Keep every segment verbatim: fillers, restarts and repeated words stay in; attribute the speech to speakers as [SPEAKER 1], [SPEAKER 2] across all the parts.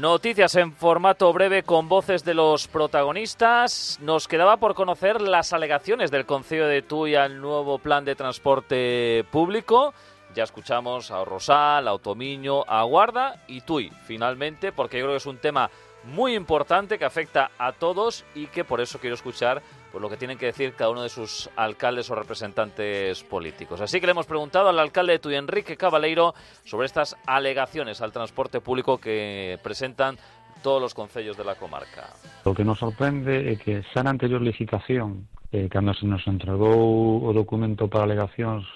[SPEAKER 1] Noticias en formato breve con voces de los protagonistas. Nos quedaba por conocer las alegaciones del Concello de Tui al nuevo plan de transporte público. Ya escuchamos a Rosal, a Otomiño, a Guarda y Tui, finalmente, porque yo creo que es un tema muy importante que afecta a todos y que por eso quiero escuchar pues, lo que tienen que decir cada uno de sus alcaldes o representantes políticos. Así que le hemos preguntado al alcalde de Tui, Enrique Cabaleiro, sobre estas alegaciones al transporte público que presentan todos los concellos de la comarca.
[SPEAKER 2] Lo que nos sorprende é que xa na anterior licitación, eh, cando se nos entregou o documento para alegacións,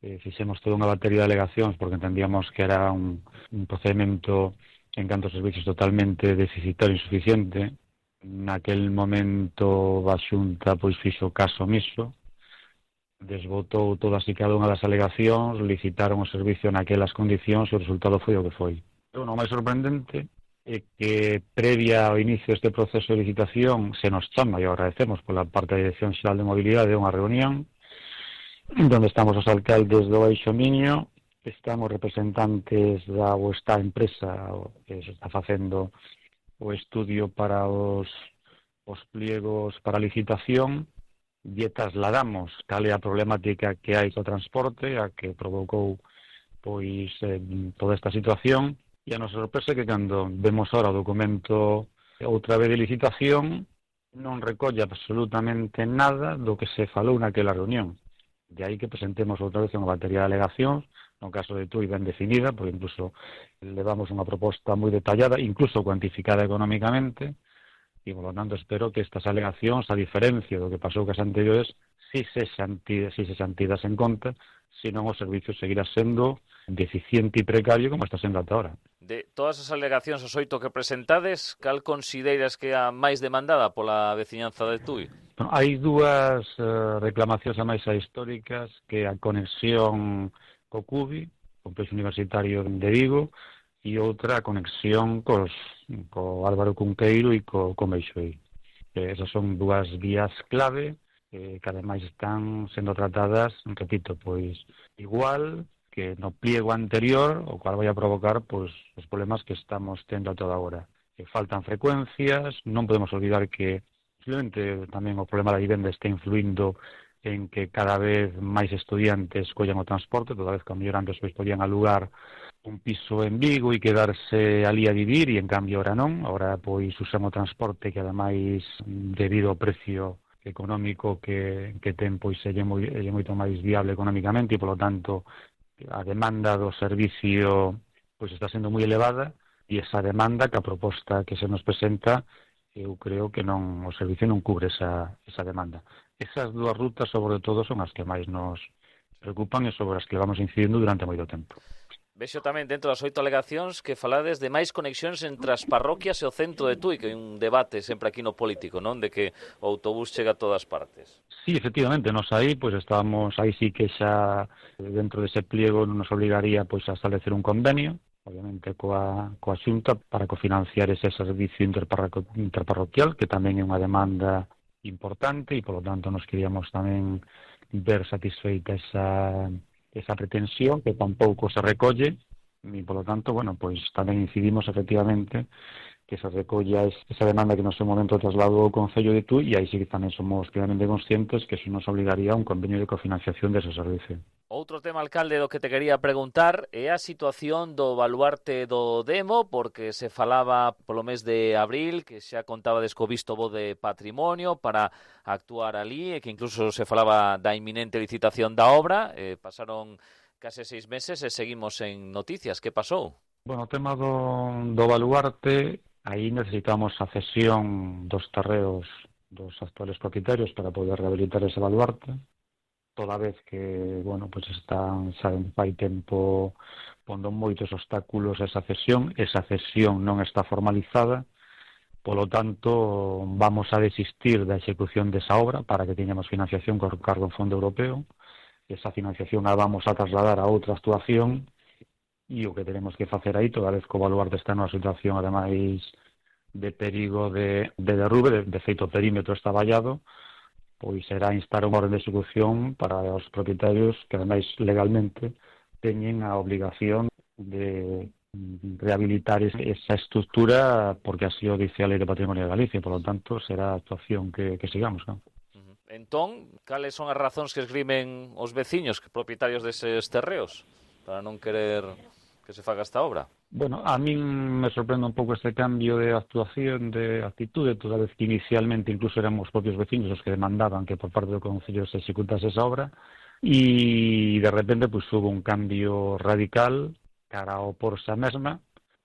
[SPEAKER 2] eh, fixemos toda unha batería de alegacións porque entendíamos que era un, un procedimento en canto a servicios totalmente deficitario e insuficiente. Naquel momento a Xunta pois fixo caso omiso, desbotou todas e cada unha das alegacións, licitaron o servicio naquelas condicións e o resultado foi o que foi. O non máis sorprendente é que previa ao inicio deste proceso de licitación se nos chama, e agradecemos pola parte da Dirección Xeral de Mobilidade, unha reunión onde estamos os alcaldes do Baixo Miño, estamos representantes da ou esta empresa que se está facendo o estudio para os, os pliegos para licitación e trasladamos cal é a problemática que hai co transporte, a que provocou pois eh, toda esta situación, e a nosa sorpresa é que cando vemos ahora o documento outra vez de licitación non recolle absolutamente nada do que se falou naquela reunión. De aí que presentemos outra vez unha batería de alegacións, no caso de Tui ben definida, porque incluso levamos unha proposta moi detallada, incluso cuantificada económicamente, e, por lo tanto, espero que estas alegacións, a diferencia do que pasou cas anteriores, si se xantidas, si se xantidas en conta, senón o servicio seguirá sendo deficiente e precario como está sendo ata ahora.
[SPEAKER 1] De todas as alegacións os oito que presentades, cal consideras que é a máis demandada pola veciñanza de Tui?
[SPEAKER 2] Bueno, hai dúas uh, reclamacións a máis a históricas, que a conexión co Cubi, Complexo Universitario de Vigo, e outra a conexión cos, co Álvaro Cunqueiro e co, co Meixoí. Eh, esas son dúas vías clave eh, que ademais están sendo tratadas, repito, pois igual que no pliego anterior, o cual vai a provocar pois, os problemas que estamos tendo a toda hora. Que faltan frecuencias, non podemos olvidar que posiblemente tamén o problema da vivenda está influindo en que cada vez máis estudiantes collan o transporte, toda vez que a mellor antes pois podían alugar un piso en Vigo e quedarse ali a vivir, e en cambio ahora non, ahora pois usan o transporte que ademais debido ao precio económico que, que ten pois é moi, é moito máis viable económicamente e polo tanto a demanda do servicio pois está sendo moi elevada, e esa demanda que a proposta que se nos presenta eu creo que non o servicio non cubre esa, esa demanda. Esas dúas rutas, sobre todo, son as que máis nos preocupan e sobre as que vamos incidindo durante moito tempo.
[SPEAKER 1] Vexo tamén dentro das oito alegacións que falades de máis conexións entre as parroquias e o centro de Tui, que hai un debate sempre aquí no político, non? De que o autobús chega a todas partes.
[SPEAKER 2] Sí, efectivamente, nos aí, pois estábamos, aí sí que xa dentro dese pliego nos obligaría pois a establecer un convenio, obviamente coa, coa Xunta, para cofinanciar ese servicio interparroquial, que tamén é unha demanda importante e, polo tanto, nos queríamos tamén ver satisfeita esa, esa pretensión que tampouco se recolle e, polo tanto, bueno, pois tamén incidimos efectivamente que se recolla esa demanda que no seu momento trasladou o Concello de Tui, e aí sí que tamén somos plenamente conscientes que eso nos obligaría a un convenio de cofinanciación dese servicio.
[SPEAKER 1] Outro tema, alcalde, do que te quería preguntar é a situación do baluarte do Demo, porque se falaba polo mes de abril que xa contaba co visto bo de patrimonio para actuar ali, e que incluso se falaba da inminente licitación da obra. Eh, pasaron case seis meses e seguimos en noticias. Que pasou?
[SPEAKER 2] Bueno, o tema do, do baluarte, aí necesitamos a cesión dos terreos dos actuales propietarios para poder rehabilitar ese baluarte, toda vez que, bueno, pues están xa fai tempo pondo moitos obstáculos a esa cesión. Esa cesión non está formalizada, polo tanto, vamos a desistir da execución desa obra para que teñamos financiación con cargo en fondo europeo. Esa financiación a vamos a trasladar a outra actuación, e o que tenemos que facer aí, toda vez que o baluarte está nunha situación, ademais, de perigo de, de derrube, de, de feito o perímetro está vallado, pois será instar unha orden de execución para os propietarios que, ademais, legalmente teñen a obligación de rehabilitar esa estructura porque así o dice a Lei de Patrimonio de Galicia, por lo tanto será a actuación que, que sigamos, ¿no?
[SPEAKER 1] Entón, cales son as razóns que esgrimen os veciños, que propietarios deses terreos, para non querer que se faga esta obra?
[SPEAKER 2] Bueno, a mí me sorprende un pouco este cambio de actuación, de actitude, toda vez que inicialmente incluso eran os propios veciños os que demandaban que por parte do Concello se executase esa obra, e de repente pues, hubo un cambio radical cara ao porse a mesma.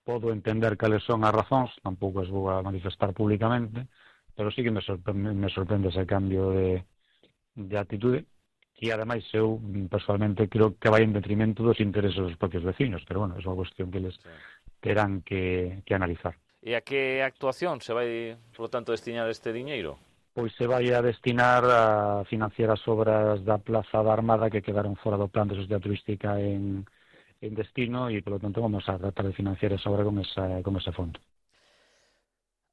[SPEAKER 2] Podo entender cales son as razóns, tampouco as vou a manifestar públicamente, pero sí que me sorprende, me sorprende ese cambio de, de actitude, e ademais eu personalmente creo que vai en detrimento dos intereses dos propios vecinos, pero bueno, é unha cuestión que les sí. terán que, que analizar.
[SPEAKER 1] E a que actuación se vai, por lo tanto, destinar este diñeiro?
[SPEAKER 2] Pois se vai a destinar a financiar as obras da Plaza da Armada que quedaron fora do plan de sociedade turística en, en destino e, por lo tanto, vamos a tratar de financiar esa obra con, esa, con ese fondo.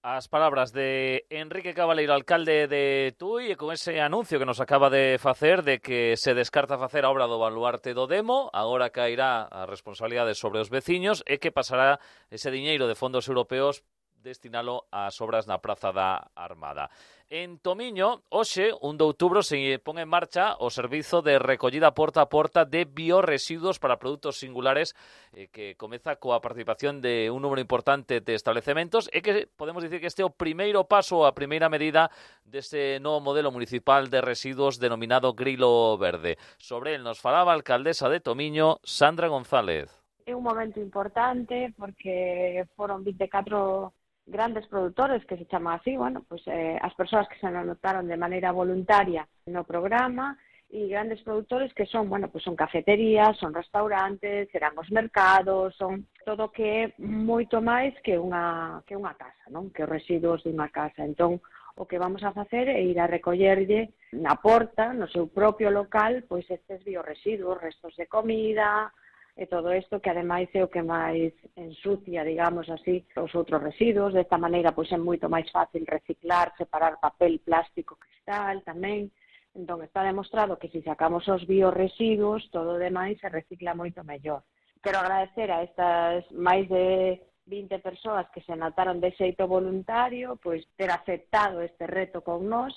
[SPEAKER 1] As palabras de Enrique Cabaleiro, alcalde de Tui, e con ese anuncio que nos acaba de facer de que se descarta facer a obra do baluarte do Demo, agora cairá a responsabilidade sobre os veciños e que pasará ese diñeiro de fondos europeos destinalo ás obras na Praza da Armada. En Tomiño, hoxe, un de outubro, se pon en marcha o servizo de recollida porta a porta de biorresiduos para produtos singulares eh, que comeza coa participación de un número importante de establecementos e que podemos dicir que este é o primeiro paso, a primeira medida deste novo modelo municipal de residuos denominado Grilo Verde. Sobre el nos falaba a alcaldesa de Tomiño, Sandra González.
[SPEAKER 3] É un momento importante porque foron vinte e catro grandes produtores, que se chaman así, bueno, pues eh, as persoas que se anotaron de maneira voluntaria no programa, e grandes produtores que son, bueno, pues son cafeterías, son restaurantes, serán os mercados, son todo que é moito máis que unha, que unha casa, non? Que os residuos dunha casa. Entón, o que vamos a facer é ir a recollerlle na porta, no seu propio local, pois estes biorresiduos, restos de comida, e todo isto que ademais é o que máis ensucia, digamos así, os outros residuos. Desta maneira, pois é moito máis fácil reciclar, separar papel, plástico, cristal tamén. Entón, está demostrado que se sacamos os biorresiduos, todo o demais se recicla moito mellor. Quero agradecer a estas máis de vinte persoas que se anotaron de xeito voluntario, pois ter aceptado este reto con nós.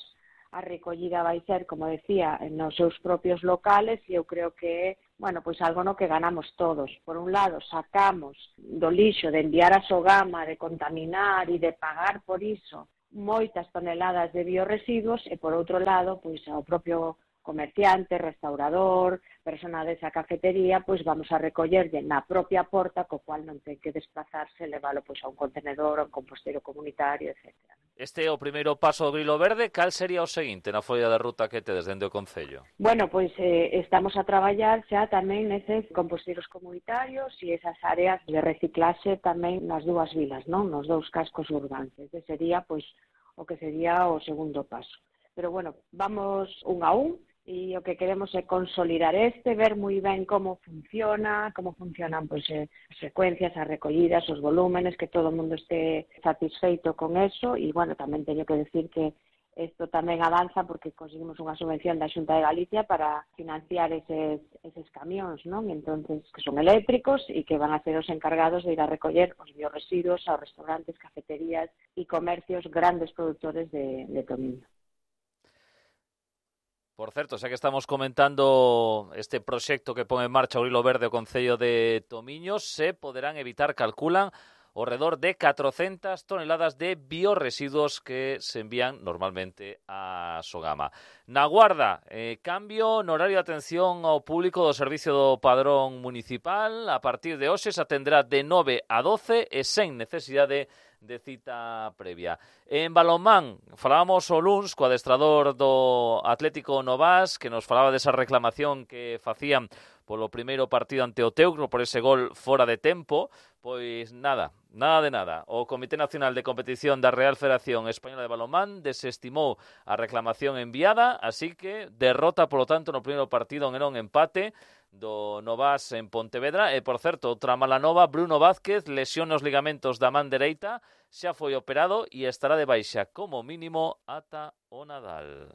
[SPEAKER 3] A recollida vai ser, como decía, nos seus propios locales e eu creo que é, bueno, pois algo no que ganamos todos. Por un lado, sacamos do lixo de enviar a Sogama, de contaminar e de pagar por iso moitas toneladas de biorresiduos e, por outro lado, pois ao propio comerciante, restaurador, persona desa cafetería, pois vamos a recollerlle na propia porta, co cual non ten que desplazarse, leválo pois a un contenedor, a un composteiro comunitario, etcétera.
[SPEAKER 1] Este é o primeiro paso do Grilo Verde. Cal sería o seguinte na folla de ruta que tedes dende o Concello?
[SPEAKER 3] Bueno, pois eh, estamos a traballar xa tamén neses composteiros comunitarios e esas áreas de reciclaxe tamén nas dúas vilas, non? Nos dous cascos urbanos. Ese sería pois o que sería o segundo paso. Pero bueno, vamos un a un e o que queremos é consolidar este, ver moi ben como funciona, como funcionan pois, eh, as frecuencias, as recollidas, os volúmenes, que todo o mundo este satisfeito con eso. E, bueno, tamén teño que decir que isto tamén avanza porque conseguimos unha subvención da Xunta de Galicia para financiar eses, eses camións, non? Entonces, que son eléctricos e que van a ser os encargados de ir a recoller os biorresiduos aos restaurantes, cafeterías e comercios grandes produtores de, de Tomiño.
[SPEAKER 1] Por certo, xa que estamos comentando este proxecto que pon en marcha o Grilo Verde o Concello de Tomiño, se poderán evitar, calculan, ao redor de catrocentas toneladas de biorresiduos que se envían normalmente a Sogama. Na Guarda, eh, cambio no horario de atención ao público do Servicio do Padrón Municipal. A partir de hoxe se atenderá de nove a doce e sen necesidade de cita previa. En balonmán, falábamos o luns co adestrador do Atlético Novas, que nos falaba desa reclamación que facían polo primeiro partido ante o Teucro por ese gol fora de tempo. Pois nada, nada de nada. O Comité Nacional de Competición da Real Federación Española de Balonmán desestimou a reclamación enviada, así que derrota, polo tanto, no primeiro partido en un empate do Novas en Pontevedra. E, por certo, outra mala nova, Bruno Vázquez, lesión nos ligamentos da man dereita, xa foi operado e estará de baixa como mínimo ata o Nadal.